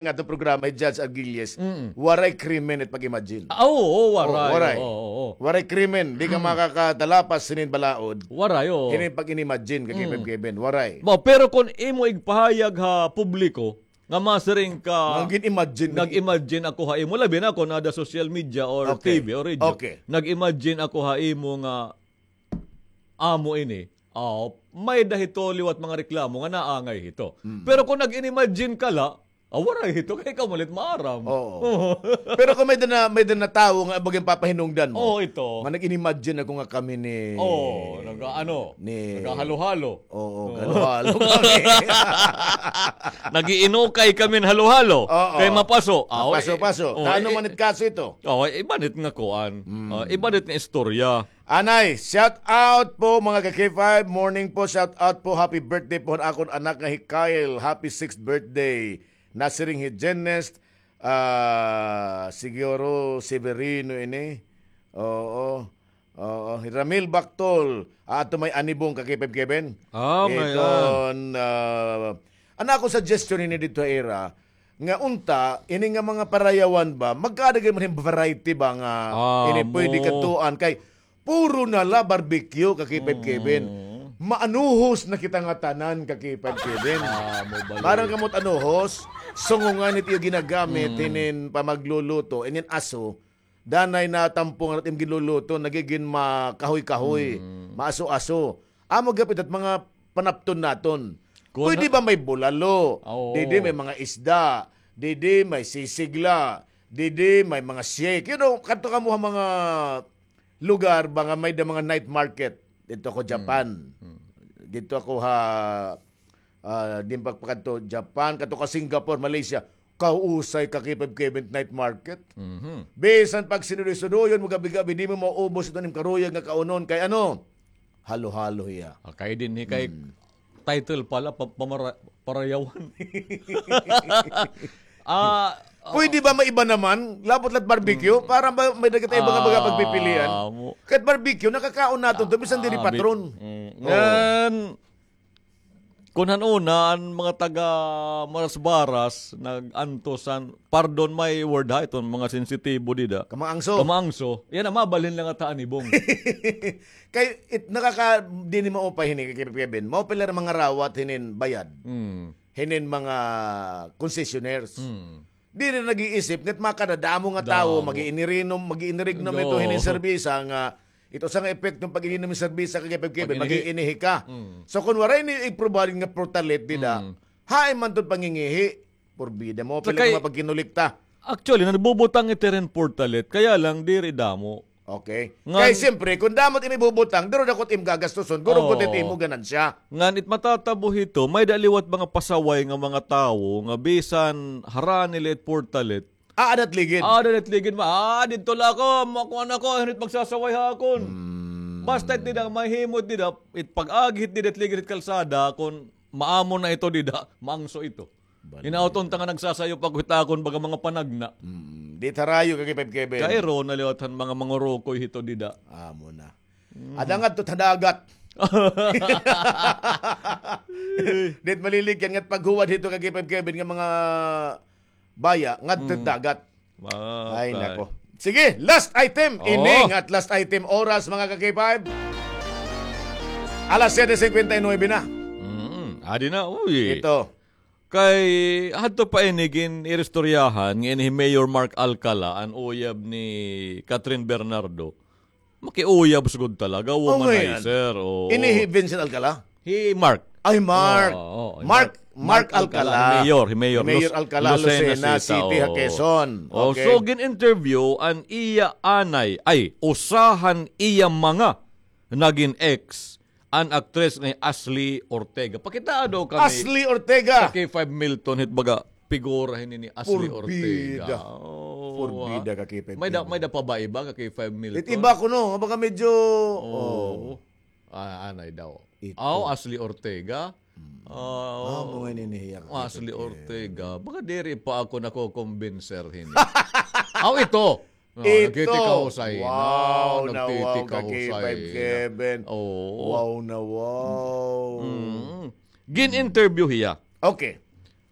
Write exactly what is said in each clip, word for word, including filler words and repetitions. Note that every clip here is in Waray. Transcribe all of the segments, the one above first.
nga ato programa, hi Judge Arguelles, Mm. waray krimen it pag-imagine. Ah, oo, oo, waray. Oo, waray. Oo, oo, oo. Waray krimen. Di ka Mm. makakatalapas hinin balaod. Waray, oo. Hinin pag-inimagine ka, Mm. Kevin, Kevin. Waray. Ba, pero kon imo igpahayag ha publiko, nga masiring ka, Nag-imagine. nag-imagine ako ha imo, labi na kon ada social media or Okay. T V or radio. Okay. Nag-imagine ako ha imo nga amo ini. Oh, may-ada hito liwat mga reklamo nga naangay hito. Mm. Pero kon nag-inimagine ka la, ah, waray hito, kay ikaw man it maaram. Oo. Oo. Pero kon may-ada na, may-ada na tawo nga baga papahinungdan mo. Oo, ito. Nga nag-inimagine ako nga kami ni Oo, nag-aano, ni naghahalo-halo. Oo, Oo. halo-halo kami. Nag-iinukay kami hin halo-halo. Oo. Kay mapaso. Ah, Mapaso-paso. eh, oh, Ano eh, man it kaso ito? Oh, eh, iba na it nga kuan. Mm. Ah, iba na it nga istorya. Anay, shout out po mga ka-K five. Morning po, shout out po. Happy birthday po an akon anak nga hi Kyle. Happy sixth birthday. Nasiring hi Jenest, ah, siguro Severino ini. Oo. Oo. Hi Ramil Bactol. Ah, ato may anibong ka-K five Kevin. Ah, may, ah. Iton, ah, an akon suggestion ini didto ha ira, nga unta, ini nga mga parayawan ba, magkaada gani man hin variety ba nga Ah, ini pwede mo. kadtuan kay puro na la barbecue ka-K five Kevin. Mm. Maanuhos na kita nga tanan ka-K five Kevin. Ah, mo bali. Maaram kamo it anuhos, sungongan it iyo ginagamit Mm. hinin pamagluluto, inin aso, danay natampong it im ginluluto, nagigin makahoy-kahoy, Mm. maaso-aso. Amo gihap it mga panapton naton. Kun Pwede ba may bulalo? Oo. Didi may mga isda. Didi may sisig la. Didi may mga shake. You know, kadto kamo ha mga lugar ba nga may-ada mga night market. Didto ako Mm. Japan. Mm. Didto ako ha, ah, din pagpakadto Japan, kadto ka Singapore, Malaysia. Kausay ka-K five Kevin night market. Mhm. Bisan pagsinudoy-sudoyon mo gabi-gabi, di mo maubos iton im karuyag nga kaunon kay ano? Halo-halo hiya. Ah, kay dinhi kay Mm. title pala, pa-, pamara-, parayawan. Ah, Pwede ba maiba naman? Labot la't barbecue? Mm. Para ba may-ada kita iba nga mga Ah, pagpipilian? mo. Kahit barbecue, nakakaon naton to, bisan diri Ah, bi-, patron. mm, Oo. ngan, kun han una, an mga taga Marasbaras, nag-antos han, pardon my word ha, iton mga sensitibo dida. Kamaangso. Kamaangso. Yana, mabalhin la ngada ha anibong. Kay, it, nakaka, dinhi maupay hini, Kevin. Maupay la mga rawat hinin bayad. Mm. Hinin mga concessionaires. Mm. Diri nag-iisip nga it makadadamo nga tawo, Damo. mag-iinirinom, mag-iinirignom ito Do. hinin serbisa nga, ito sa nga epekto hin pag-ininom hin serbisa ka-K five Kevin, Pag-inihi. mag-iinihi ka. Mm. So, kun waray ni i-provide nga portalet dida, Mm. hain man iton pangingihi? Porbida mo, Sa pila kay, ka mapagkinulikta. actually, nagbubutang ito hin portalet, kaya lang diri damo. Okay. Ngan Kay siyempre, kun damo it im ibubutang, duro dako it im gagastuson, guro Oo. gud it imo ganansya. Ngan it matatabo hito, may-ada liwat mga pasaway nga mga tawo nga bisan harani la it portalet. Ah, adat ligid. Ah, adat ligid ma. Ah, didto la ako, makuan ako, hinit magsasaway ha akon. Hmm. Basta it dida, mahimo it dida, it pag-agi hit dida it ligid hit kalsada, kun maamo na ito dida, maangso ito. Bali. Hinaot unta nga nagsasayop ako hit akon baga mga panagna. Mm, di it harayo ka-K five Kevin. Kay iro na liwat han mga mangurukoy hito dida. Amo na. Mm. Ada ngadto ha dagat. Di it maliligyan nga it paghuwad hito ka-K five Kevin nga mga baya ngadto ha Mm. dagat. Ay, Okay. nako. Sige, last item. Oo. Ini nga it last item oras, mga ka-K five. Alas siyete singkwenta y nuwebe na. Mm, adi na, uy. Ito. Kay hadto pa ini gin-iristoryahan nga ini hi Mayor Mark Alcala, an uyab ni Catherine Bernardo. Makiuyab sugod talaga, Oh, ngayon. womanizer, oo. Ini hi Vincent Alcala? Hi Mark. Ay, Mark. Oo, oo, Mark, Mark Mark Alcala. Alcala. Hi Mayor, hi Mayor Mayor Luz-, Alcala, Lucena Lucena City, City, ha oo. Quezon. Oh, Okay. so gin-interview an iya anay, ay, usa han iya mga nagin ex, an aktres nga hi Ashley Ortega. Pakitaa daw kami Ashley Ortega. sa K five Milton, hit baga figura hini ni Ashley Porbida. Ortega. Oh, Porbida ah. ka K five May da, Milton. may da pa ba iba ka K five Milton? It iba kuno, nga baga medyo, Oh. oh. Ah, anay daw. Ito. Aw, Ashley Ortega. Hmm. Ah, Ah, mga ninihiya ka Ashley K five Milton. Ortega. Baga diri pa ako nakokombinser hini. Aw, ito. Oh, Ito. nagtitikausay na. Wow, na wow, Nagtitikausay ka-K five na. Kevin. Oo. Wow na wow. Mm. Gin-interview hiya. Okay.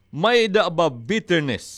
May-ada ba bitterness